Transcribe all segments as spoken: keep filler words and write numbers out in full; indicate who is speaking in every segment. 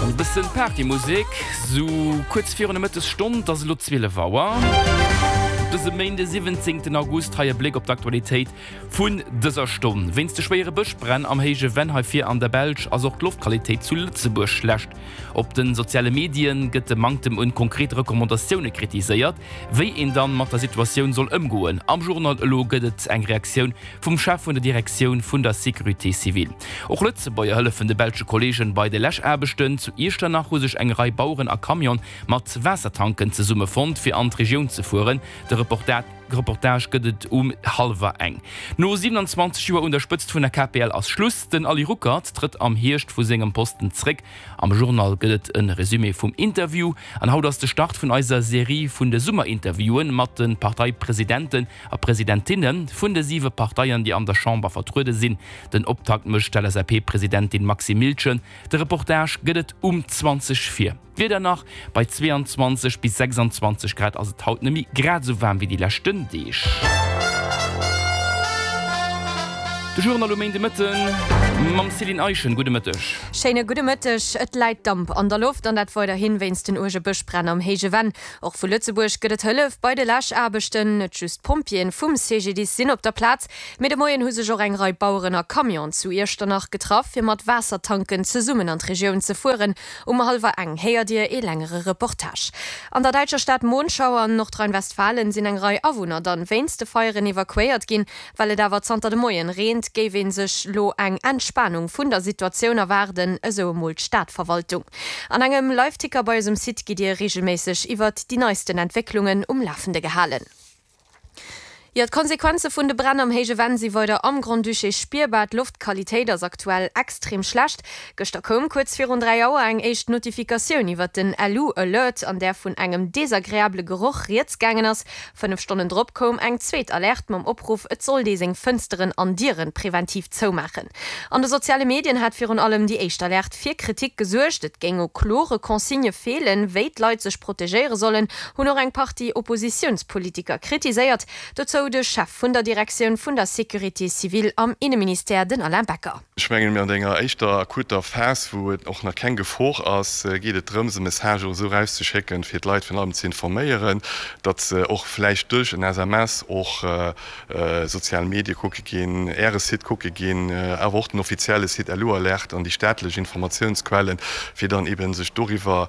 Speaker 1: An e bëssen Partymusek, sou kuerz virun der Mëttesstonn, et ass elo zwielef Auer. Op dësem Méinde siwwenzéngten August hei e Bléck op d'Aktualitéit vun dëser Stonn. Wéinst de schwéiere Bëschbränn am Héije Venn hei vir an der Belsch ass och d'Loftqualitéit zu Lëtzebuerg schlecht. Op de soziale Medien gëtt de Manktem un konkrete Recommandatioune kritiséiert, wéi een dann mat der Situatioun soll ëmgoen. Am Journal elo gëtt et eng Reaktioun vum Chef vun der Direktioun vun der Sécurité civile. Och Lëtzebuerger hëllefen de belsche Kolleegen bei de Läschaarbechten. Zu Iechternach hu sech eng Rei Baueren a Camione mat Waassertanken zesummefonnt, fir an d'Regioun ze fueren. De Reportage gëtt et um hallwer eng. No siewenanzwanzeg Joer un der Spëtzt vun der K P L ass Schluss. Den Ali Ruckert trëtt am Hierscht vu sengem Posten zréck. Am Journal gëtt et e Resumé vum Interview. An haut ass de Start vun eiser Serie vun de Summerinterviewen mat de Parteipresidenten a Presidentinne vun de siwe Parteien, déi an der Chamber vertruede sinn. Den Optakt mécht d'L S A P-Presidentin Maxime Miltgen. De Reportage gëtt et um zwanzeg vir. D'Wieder nach, Bei zweeanzwanzeg bis sechsanzwanzeg Grad ass et haut nëmme grad esou waarm wéi déi leschten Deeg. De Journal um Méindemëtten mam Céline Eischen. Gudde Mëtteg.
Speaker 2: Schéine gudde Mëtteg. Et läit Damp an der Loft an dat weiderhin wéinst den uerge Bëschbränn am Héije Venn. Och vu Lëtzebuerg gëtt et Hëllef bei de Läschaarbechten. Net just d'Pompjeeën vum C G D I S sinn op der Plaz, mee de Moien hu sech och eng Rei Baueren a Camionen zu Iechternach getraff, fir mat Waassertanken zesummen an d'Regioun ze fueren. Um hallwer eng héiert Dir ee längere Reportage. An der däitscher Stad Monschau an Nordrhein-Westfalen sinn eng Rei Awunner dann wéinst de Feieren evakuéiert ginn. Well et awer zanter de Moien reent, géif ee sech lo eng Entspanung vun der Situatioun erwaarden, esou emol d'Stadverwaltung. An engem Liveticker bei eis um Site gitt Dir reegelméisseg iwwert déi neisten Entwécklungen um Lafende gehalen. Jo, d'Konsequenze vun de Bränn am Héije Venn si weider am Grand-Duché spierbar. D'Loftqualitéit ass aktuell extrem schlecht. Gëschter koum kuerz virun dräi Auer eng éischt Notifikatioun iwwert den L U-Alert, an där vun engem desagreabele Geroch rieds gaangen ass. Fënnef Stonnen drop koum eng zweet Alerte mam Opruff, et sollt ee seng Fënsteren an Diere preventiv zoumaachen. An de soziale Medien hat virun allem déi éischt Alerte fir Kritik gesuergt. Et géing u klore Consignë feelen, wéi d'Leit sech protegéiere sollen, hunn och eng Partie Oppositiounspolitiker kritiséiert. Dozou de Chef vun der Direktioun vun der Sécurité civile am Inneministère, den Alain Becker.
Speaker 3: Ech mengen, mir an enger éischter akuter Phas, wou et och nach keng Gefor ass, geet et drëms, e Message och esou erauszeschécken, fir d'Leit virun allem ze informéieren, datt se och vläicht duerch en S M S och sozial Medie kucke ginn, Äre Site kucke ginn, awer och den offizielle Site L U-Alert an déi staatlech Informatiounsquellen, fir dann eeben sech doriwwer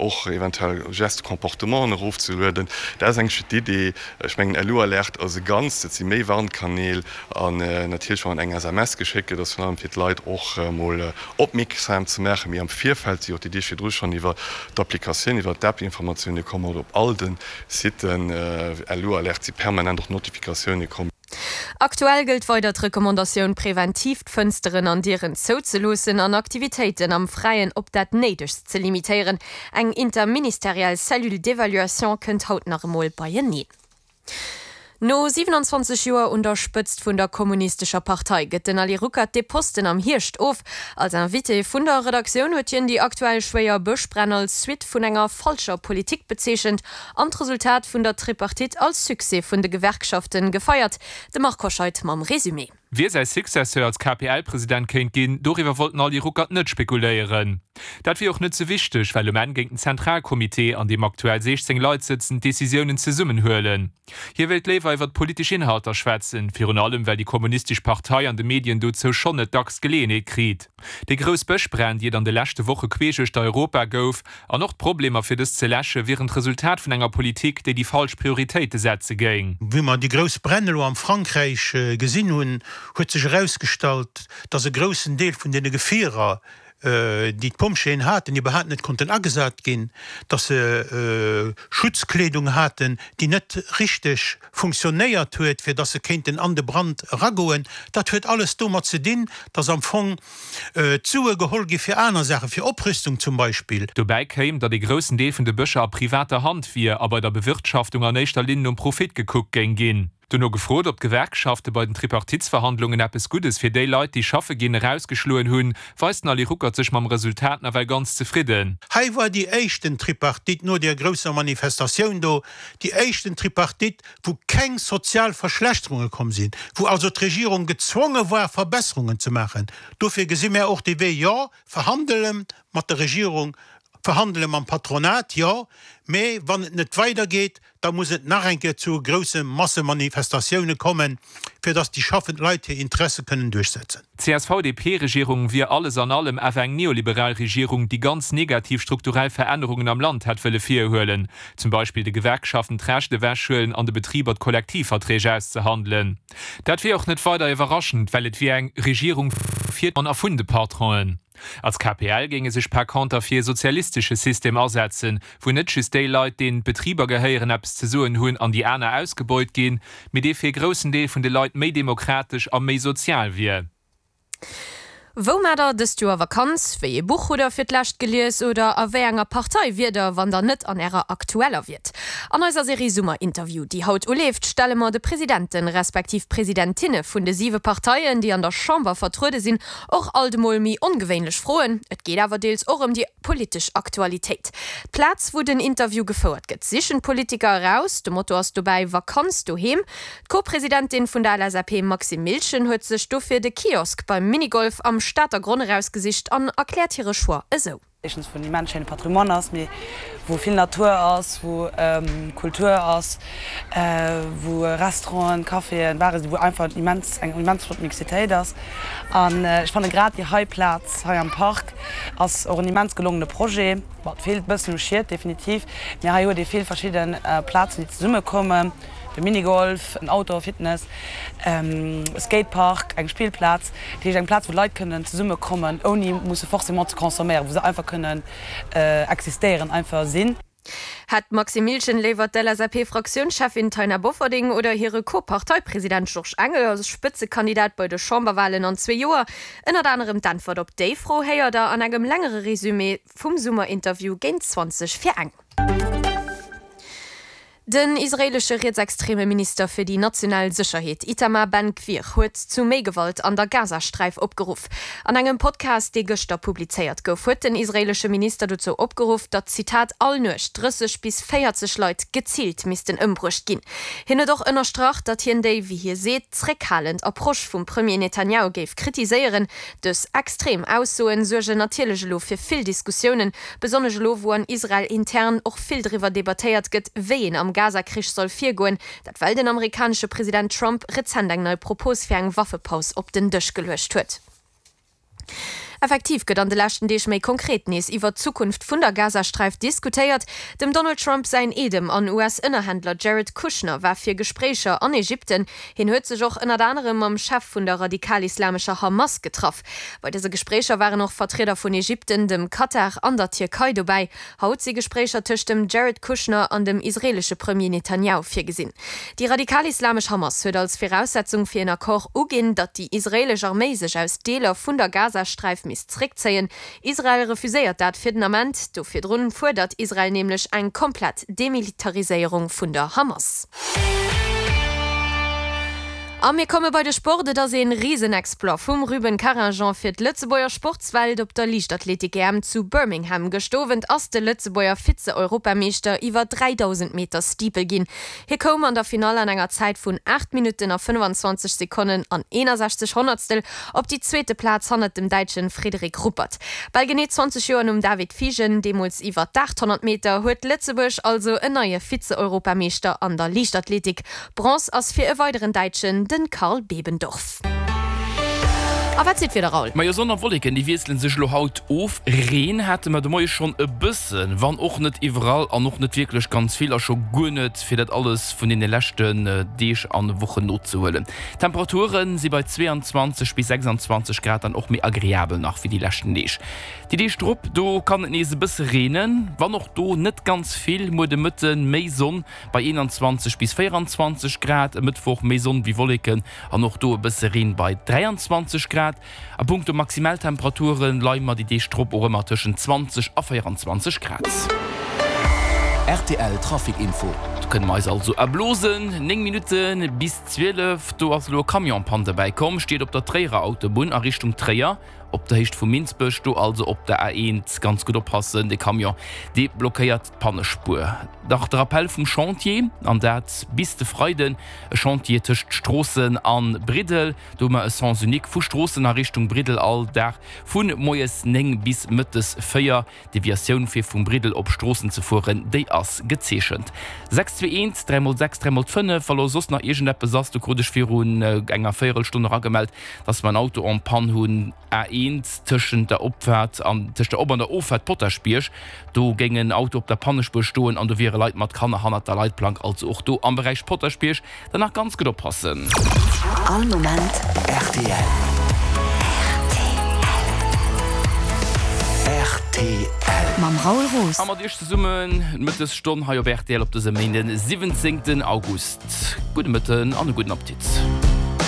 Speaker 3: och eventuell Gestes, Comportementen erofzelueden. Dat ass eigentlech d'Idee. Ech mengen, L U-Alert ass e Ganzt, et si méi Warnkanäl an natierlech, wann eng S M S geschéckt gëtt, ass virun allem fir d'Leit och emol opmierksam ze maachen, mee am Virfeld si och déi Deeg virdru schonn iwwer d'Applikatioun, iwwer d'App Informatioune komm oder op all de Siten L U-Alert si permanent och Notifikatioune komm.
Speaker 2: Aktuell gëllt weider d'Recommandatioun, preventiv d'Fënsteren an Dieren zouzeloossen an Aktivitéiten am Fräien op dat Néidegst ze limitéieren. Eng interministeriell Cellule d'évaluation kënnt haut nach emol beieneen. No siewenanzwanzeg Joer un der Spëtzt vun der Kommunistescher Partei gëtt den Ali Ruckert de Posten am Hierscht of. Als Invité vun der Redaktioun huet hien déi aktuell schwéier Bëschbränn als Suite vun enger falscher Politik bezeechent an d'Resultat vun der Tripartite als Succès vun de Gewerkschaften gefeiert. De Marc Hoscheid mam Resumé.
Speaker 4: Wie säi Successeur als K P L-President kéint ginn, doriwwer wollt den Ali Ruckert net spekuléieren. Dat wier och net sou wichteg, well um Enn géing den Zentralcomité, an deem aktuell siechzéng Leit sëtzen, d'Decisiounen zesummen huelen. Hie wéilt léiwer iwwer politesch Inhalter schwätzen, virun allem well déi Kommunistesch Partei an de Medien dozou schonn net dacks Geleeënheet kritt. Déi grouss Bëschbränn, déi et an de leschte Woche queesch uechter Europa gouf, an och d'Problemer fir dës ze läsche wieren d'Resultat vun enger Politik, déi déi falsch Prioritéite setze géing.
Speaker 5: Wéi mer déi grouss Bränn elo am Frankräich gesinn hunn, huet sech erausgestallt, dass e groussen Deel vun deene Gefierer, déi d'Pompjeeën haten, iwwerhaapt net konnten agesat ginn, dass se Schutzkleedung haten, déi net richteg funktionéiert huet, fir dass se kéinten an de Brand eragoen. Dat huet alles domat ze dinn, dass am Fong d'Sue geholl gi fir aner Saachen, fir Oprüstung zum Beispill.
Speaker 4: Dobäi kéim, datt ee groussen Deel vun de Bëscher a privater Hand wier a bei der Bewirtschaftung an éischter Linn nom Profit gekuckt géing ginn. Dono gefrot, ob d'Gewerkschafte bei den Tripartitsverhandlungen eppes Guddes fir déi Leit, déi schaffe ginn, erausgeschloen hunn, weist den Ali Ruckert sech mam Resultat nawell ganz zefridden.
Speaker 5: Hei war déi éischten Tripartite no där grousser Manifestatioun do, déi éischten Tripartite, wou keng sozial Verschlechterunge komm sinn, wou also d'Regierung gezwonge war, Verbesserungen ze maachen. Dofir gesi mär och dee Wee, jo, verhandele mat der Regierung, verhandele mam Patronat, jo, mee wann et net weidergeet, da muss et nach eng Kéier zu grousse Massemanifestatioune kommen, fir datt déi schaffend Leit hir Interesse kënnen duerchsetzen.
Speaker 4: D'CSV-DP-Regierung wier alles an allem awer eng neoliberal Regierung, déi ganz negativ strukturell Verännerungen am Land hätt wëlle virhuelen, zum Beispill de Gewerkschaften d'Recht ewechhuelen an de Betriber d'Kollektivverträg auszehandelen. Dat wier och net weider iwwerraschend, well et wier eng Regierung fir an a vun de Patronen. Als K P L géinge sech par conter fir e sozialistesche System asetzen, wou net just déi Leit, deenen d'Betriber gehéieren, eppes ze soen hunn an déi aner ausgebeut ginn, mee dee fir e groussen Deel vun de Leit méi demokratesch a méi sozial wier.
Speaker 2: Wou maacht der dëst Joer Vakanz? Wéi ee Buch hutt der fir d'lescht gelies oder a wéi enger Partei wiert der, wann der net an ärer aktueller wiert? An eiser Serie Summerinterview, déi haut uleeft, stelle mer de Presidenten, respektiv Presidentinne vun de siwe Parteien, déi an der Chamber vertruede sinn, och alt emol méi ongewéinlech Froen. Et geet awer deels och ëm déi politesch Aktualitéit. D'Plaz, wou den Interview gefouert gëtt, sichen d'Politiker eraus. De Motto ass dobäi Vakanz doheem. D'Co-Presidentin vun der L S A P Maxime Miltgen huet sech dofir de Kiosk beim Minigolf am Stater Gronn erausgesicht an erkläert hire Choix esou.
Speaker 6: Éischtens wou en immens schéine Patrimoine ass, mee wou vill Natur ass, wou Kultur ass, wou Restauranten, Caféen, Bare sinn, wou einfach immens, eng immens flott Mixitéit ass. An ech fanne grad déi hei Plaz hei am Park ass och en immens gelongene Projet. Bon, et feelt e bëssen u Schied, definitiv, mee hei huet ee vill verschidde Plazen, déi zesummekommen, de Minigolf, en Outdoor Fitness, e Skatepark, eng Spillplaz, dat heescht eng Plaz, wou Leit kënnen zesummekommen, ouni musse forcément ze consomméieren, wou se einfach kënnen existéieren, einfach sinn.
Speaker 2: Hätt d'Maxime Miltgen léiwer d'L S A P-Fraktiounscheffin Taina Bofferding oder hire Co-Parteipresident Georges Engel als Spëtzekandidat bei de Chamberwalen an zwee Joer? Ënnert anerem d'Äntwert op déi Fro héiert der an engem längere Resumé vum Summerinterview géint zwanzeg vir eng. Den israeelesche rietsextreme Minister fir déi national Sécherheet Itamar Ben-Gvir huet zu méi Gewalt an der Gazasträif opgeruff. An engem Podcast, dee gëschter publizéiert gouf, huet den israeelesche Minister dozou opgeruff, datt, Zitat, all Nuecht drësseg bis véierzeg Leit geziilt missten ëmbruecht ginn. Hien huet och ënnerstrach, datt hien déi, wéi hie seet, zréckhalend Approche vum Premier Netanjahu géif kritiséieren. Dës extrem Aussoen suergen natierlech elo fir vill Diskussiounen, besonnesch elo, wou an Israel intern och vill driwwer debattéiert gëtt, wéi een am Gaza-Krich soll virgoen, dat well den amerikanesche President Trump rezent eng nei Propos fir eng Waffepaus op den Dësch geluecht huet. Effektiv gëtt an de leschten Deeg méi konkret nees iwwer d'Zukunft vun der Gazasträif diskutéiert. Dem Donald Trump säin Eedem an U S-Ënnerhändler Jared Kushner war fir Gespréicher an Ägypten. Hien huet sech och ënnert anerem mam Chef vun der radikal-islamescher Hamas getraff. Bei dëse Gespréicher waren och Vertrieder vun Ägypten, dem Katar an der Tierkei dobäi. Haut si Gespréicher tëscht dem Jared Kushner an dem israeelesche Premier Netanjahu virgesinn. Déi radikal-islamesch Hamas huet als Viraussetzung fir en Accord uginn, datt déi israeelesch Arméi sech aus Deeler vun der Gazasträif misst zréckzéien. Israel refuséiert dat fir den Ament. Do virdrun fuerdert Israel nämlech eng komplett Demilitariséierung vun der Hamas. A mir komme bei de Sport. Et ass een Risenexploit vum Rubin Karangean fir d'Lëtzebuerger Sportswelt op der Liichtathletik-E M zu Birmingham. Gëschter Owend ass de Lëtzebuerger Vize-Europameeschter iwwer dräidausend Meter Steeple ginn. Hie koum an der Finall an enger Zäit vun aacht Minutten a fënnefenzwanzeg Sekonnen an eenasechzeg Honnertstel op déi zweete Plaz hannert dem Däitsche Frederik Ruppert. Bal genee zwanzeg Joer nom David Fiegen, deemools iwwer d'aathonnert Meter, huet Lëtzebuerg also en neie Vize-Europameeschter an der Liichtathletik. Bronze ass fir e weideren Däitschen, den Karl Bebendorf. A wat seet d'Wieder, Raoul?
Speaker 1: Majo, Sonn a Wolleken, déi wiesselen sech elo haut of. Reen hate mer de Moie schonn e bëssen, wann och net iwwerall an och net wierklech ganz vill a scho guer net fir dat alles vun deene leschten Deeg an Wochen nozehuelen. D'Temperature si bei zwee an zwanzeg bis sechsanzwanzeg Grad dann och méi agreabel nach wéi déi leschten Deeg. Déi Deeg drop, do kann et nees e bësse reenen, wann och do net ganz vill. Muer de Mëtte méi Sonn bei eenanzwanzeg bis véieranzwanzeg Grad, e Mëttwoch méi Sonn wéi Wolleken an och do e bësse Reen bei dräianzwanzeg Grad. A punkto Maximaltemperature leie mer déi Deeg drop och ëmmer tëschent zwanzeg a véieranzwanzeg Grad.
Speaker 7: R T L Trafic Info.
Speaker 1: Do kënne mer eis also erblosen. Néng Minutte bis zwielef, do ass elo e Camion en panne derbäi komm, steet op der Tréierer Autobunn a Richtung Tréier, op der Héicht vu Minsbech, do also op der A eent ganz gutt oppassen, de Camion dee blockéiert d'Pannespuer. Nach de Rappel vum Chantier, an dat bis de Freiden, e Chantier tëscht Stroossen a Briddel, do hu mer e Sens unique vu Stroossen a Richtung Briddel all Dag vu moies néng bis mëttes véier. D'Deviatioun fir vum Briddel op Stroossen ze fueren, déi ass gezeechent. Sechs zwee eent, dräi mol sechs, dräi mol fënnef. Wa lo soss nach iergendeppes ass, do krut ech virun enger Véierelstonn eragemellt, dass mer en Auto en panne hunn, A eent, tëschent der Opfaart an, tëscht der Op an der Offaart Potaschbierg. Do géing en Auto op der Pannespuer stoen an do wiere Leit mat Kanner hannert der Leitplank. Also och do am Beräich Potaschbierg dann nach ganz gutt oppassen.
Speaker 7: All Moment rtl. Rtl. Mam Raoul Roos.
Speaker 1: A mat Iech zesummen d'Mëttesstonn hei op rtl op dësem Méinden, siwwenzéngten August. Gudde Mëtten an e gudden Appetit.